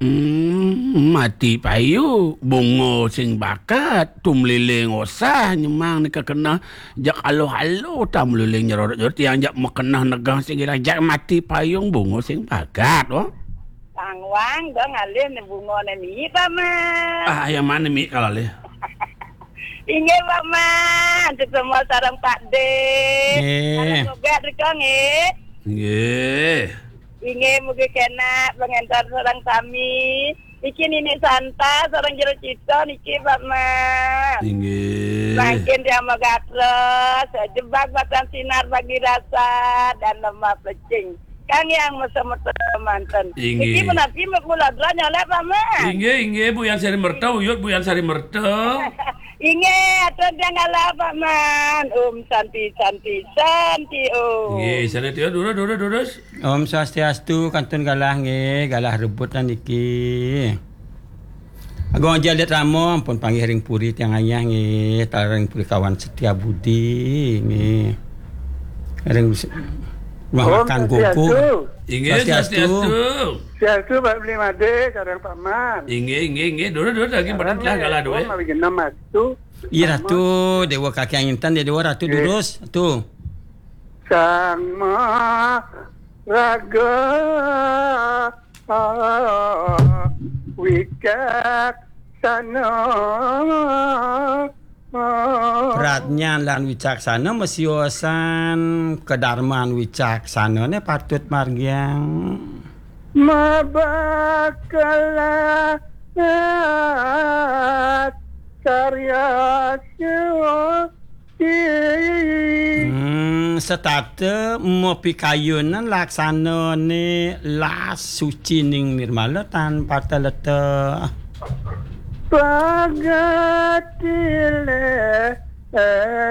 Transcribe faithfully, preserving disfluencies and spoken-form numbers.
Hmm, mati payu, bunga sing bakat, tumliling usah nyemang ni kekenah, jak aluh-aluh tam luling nyerorot-nyerorot, tiang jak mekenah negah sing irang, jak mati payung bunga sing bakat, oh. Tangwang dong alih ni bunga ni mi, Paman. Ah, yang mana mi kalau alih? Inggih, Paman. Sesama sareng Pak De. Nggih. Sareng Bogat rika, nggih. Nggih. Inggih, mugi kenak pengentar sareng sami. Niki Nini Santa sareng Jero Cita niki, Paman. Inggih. Mangkin tiang magatra, sejebak batang sinar bagi rasa dan lemah pecing. Kang yang mesa-mesa manten. Inggih. Niki menapi mula dra nyolek, Paman. Inggih, inggih, Bu Yang Sari Merta, uyut Bu Yang Sari Merta. Inggih, atur tiang galah, Paman. Om Santi, Santi, Santi, Om. Inggih, sana tiang, durus, durus, durus. Om Swastiastu, kantun galah nggih, galah rebut lah niki. Agung Aji Alit Rama, ampun panggih ring puri tiang ayah nggih, taler ring puri kawan Setia Budi nggih. Ring se-, rumah Om makan Swastiastu. Gogong. Inggih, Swastiastu. Swastiastu. Swastiastu, Pak Beli Made, sareng Paman. Inggih, inggih, inggih. Durus, durus, lagi pada telah galah duit. Om, lagi enam astu. Iya, Ratu, Dewa Kakang Intan, Dewa Ratu, nggih, durus, Ratu. Sang Maharaga Wicaksana. Pradnyan lan wicaksana masiosan, kadarman wicaksana ne patut margiang. Mabakelat karya suci. Hmm, setata mapikayunan laksanane las suci ning nirmala tan pataleta. Pagati le